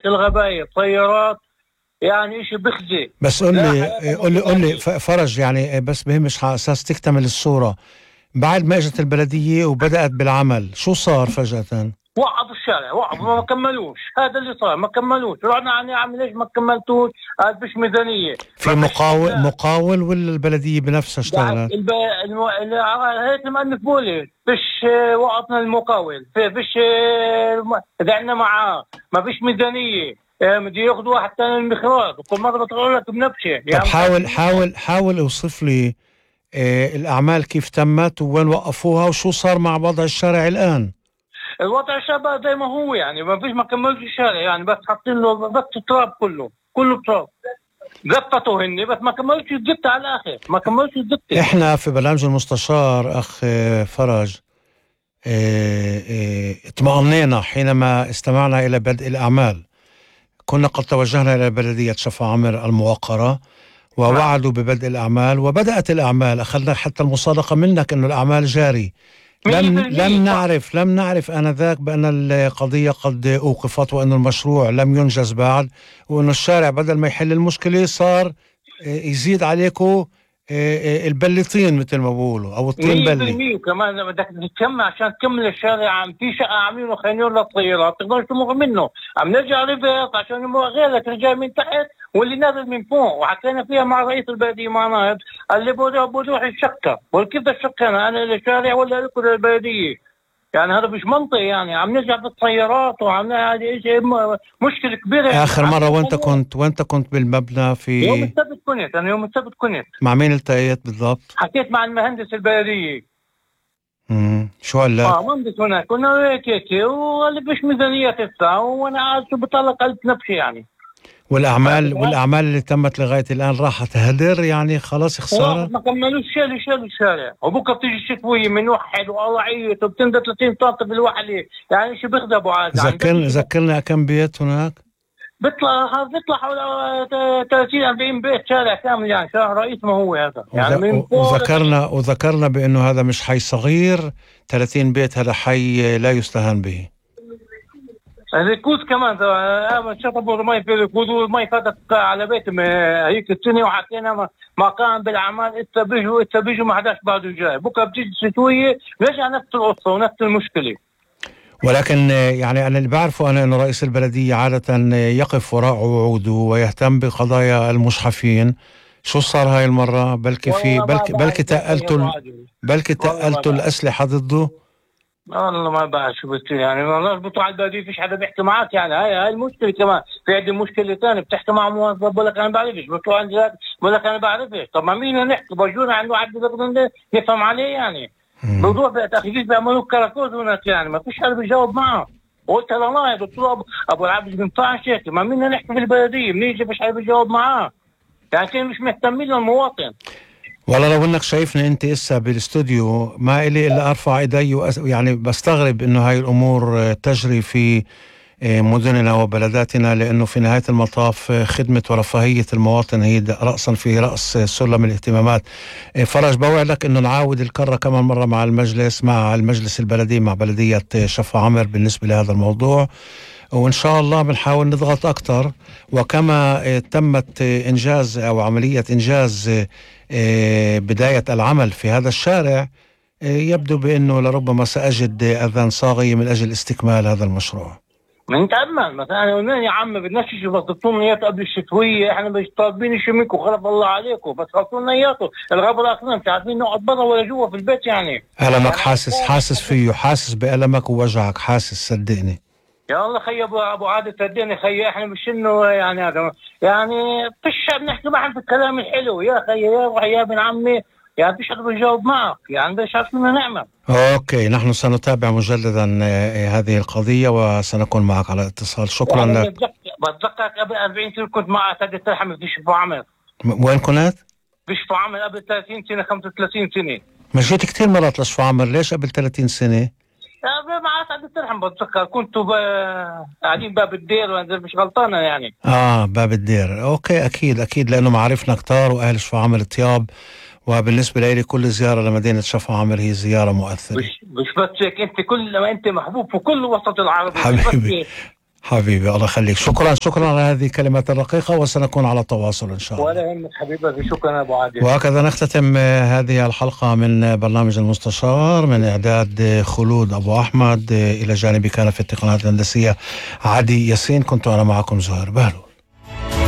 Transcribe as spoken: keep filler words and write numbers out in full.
الغباية طيارات، يعني إشي بخزي. بس قل لي قل لي قل لي فرج، يعني بس بهمش على أساس تكتمل الصورة. بعد ما اجت البلدية وبدأت بالعمل شو صار فجأة؟ وقفوا الشارع، وقفوا ما كملوش. هذا اللي صار، ما كملوش. رحنا عن عم ليش ما كملتوش؟ قال فيش ميزانية. في مقاول مقاول ولا البلدية بنفسها اشتغلت؟ الب... الم... هيك المؤلف بولي فيش وقفنا المقاول، فيش دعنا معاه، ما فيش ميزانية، بدي ياخذوا واحد ثاني المخراج، وكل مرة بتقول لك بنبشة. طب يعني حاول حاول حاول اوصف لي آه الأعمال كيف تمت وين وقفوها وشو صار مع وضع الشارع الآن. الوضع الشارع زي ما هو، يعني ما فيش، ما كملش الشارع، يعني بس حاطين له بس تراب، كله كله تراب. زبطوا هني بس ما كملوش الزبطة على الآخر، ما كملوش الزبطة. احنا في برنامج المستشار أخ فرج اه اه اطمأنينا حينما استمعنا إلى بدء الأعمال. كنا قد توجهنا إلى بلدية شفا عمر الموقرة ووعدوا ببدء الأعمال، وبدأت الأعمال. أخذنا حتى المصادقة منك أنه الأعمال جاري. لم لم نعرف لم نعرف آنذاك بأن القضية قد أوقفت وأن المشروع لم ينجز بعد، وأن الشارع بدل ما يحل المشكلة صار يزيد عليكم البلطين مثل ما بقولوا، أو الطين بلي. وكمان بدك تكمل عشان تكمل الشارع. عم في شقة عاملينه خانيون للطيارات تقدرش تمر منه، عم نرجع ريفيرس عشان يمر غيرك رجال من تحت واللي نازل من فوق. وحكينا فيها مع رئيس البلدية مع نائب، قال لي بروح الشقة. وكيف بدي الشقة أنا أنا للشارع ولا لكم للبلدية؟ يعني هذا مش منطق، يعني عم نرجع بالسيارات وعم هذه شيء مشكلة كبيرة. آخر مرة وانت كنت وانت كنت بالمبنى في يوم السبت كنت أنا يوم السبت كنت مع مين التقيت بالضبط؟ حكيت مع المهندس البلدية. امم شو قال لك؟ اه مهندس هناك كنا هيك هيك وقال لي فيش ميزانية تدفع، وانا قاعد شو بطلع قلت نفسي يعني. والأعمال والأعمال اللي تمت لغاية الآن راحت هدر، يعني خلاص خسارة. ما كملوش شيء شيء الشارع. وبكره بتيجي الشتوية من وحد والله عيط وبتنزل ثلاثين طاقة بالوحدة، يعني شو بيخدبوا عاد. ذكرني ذكرني كم بيت هناك؟ بيطلع بيطلع حوالي ثلاثين أربعين بيت شارع كامل، يعني شارع رئيس ما هو هذا. يعني من وذكرنا وذكرنا بأنه هذا مش حي صغير، ثلاثين بيت هذا حي لا يستهان به. الركوز كمان شطبوا المي في الركوز، والمي فاتت على بيت هيك السنة. وحكينا ما كان بالأعمال إنت بيجوا إنت بيجوا ما حداش بعده جاي. بكره بتيجي الشتوية نرجع نفس القصة ونفس المشكلة. ولكن يعني أنا اللي بعرفه أنا إنه رئيس البلدية عادة يقف وراء وعوده ويهتم بقضايا المشحفين. شو صار هاي المرة؟ بلكي في بلكي بلكي تقلتوا بلكي تقلتوا الأسلحة ضده. والله ما بعرف شو بتصير، يعني والله بتوع على البلدية فيش حدا بيحكي معك. يعني هاي هاي المشكلة. كمان في عندي مشكلة ثانية، بتحكي مع موظف بقول لك أنا بعرفش، بتوع عندي بقول لك أنا بعرفش. طب ما مين نحكي؟ بجونا عنده عبد بقدر نفهم عليه يعني. موضوع بتأخذيش بيعملوا كراكوز هناك، يعني ما فيش حدا بيجاوب معه. قلت له والله دكتور أبو العبد بينفعش هيك، ما مين نحكي في البلدية بنيجي فيش حدا بيجاوب معاه، يعني مش مهتمين للمواطن. والله لو انك شايفني انت اسا بالاستوديو ما إلي الا ارفع ايدي وأس... يعني بستغرب انه هاي الامور تجري في مدننا وبلداتنا، لانه في نهاية المطاف خدمة ورفاهية المواطن هي رأسا في رأس سلم الاهتمامات. فرج بوعدك انه نعاود الكرة كمان مرة مع المجلس مع المجلس البلدي مع بلدية شفا عمر بالنسبة لهذا الموضوع، وإن شاء الله بنحاول نضغط أكتر. وكما تمت إنجاز أو عملية إنجاز بداية العمل في هذا الشارع، يبدو بأنه لربما سأجد أذان صاغية من أجل استكمال هذا المشروع. من تأمل مثلا قلنا يا عم بدناش بس ضبطونا اياه قبل الشتوية، احنا مش طالبين شيء منكم، خلف الله عليكم، بس خلصونا اياته. الغابة الاخرين مش عارفين نقعد برا ولا جوا في البيت يعني. ألمك حاسس حاسس فيه، حاسس بألمك ووجعك، حاسس صدقني. يا الله خي ابو ابو عادل صدقني خي، احنا مش انه يعني هذا يعني فيش بنحكي معهم في الكلام الحلو يا خي يا يا ابن عمي، يعني فيش حدا بيجاوب معك، يعني مش عارفين نعمل. اوكي نحن سنتابع مجددا هذه القضية وسنكون معك على اتصال. شكرا يعني لك. بتذكرك قبل أربعين سنة كنت مع سيد ترحم في شفا عمر. وين كنت؟ في شفا عمر قبل ثلاثين سنة خمسة وثلاثين سنة. مشيت كتير مرات لشفا عمر، ليش قبل ثلاثين سنة؟ مع سعد ترحم بتذكر كنتوا قاعدين باب الدير وانا مش غلطانه يعني. اه باب الدير، اوكي اكيد اكيد لانه معارفنا كتار واهل شفا عمر طياب، وبالنسبه لي كل زياره لمدينه شفا عمر هي زياره مؤثره. مش مش بس هيك، انت كل ما انت محبوب في كل وسط العرب حبيبي حبيبي الله يخليك. شكرا شكرا على هذه الكلمات الرقيقة، وسنكون على تواصل إن شاء الله. ولا يهمك حبيبي، شكرا أبو عادل. وهكذا نختتم هذه الحلقة من برنامج المستشار، من إعداد خلود أبو أحمد، إلى جانبي كان في التقنيات الهندسية عدي ياسين، كنت أنا معكم زهير بهلول.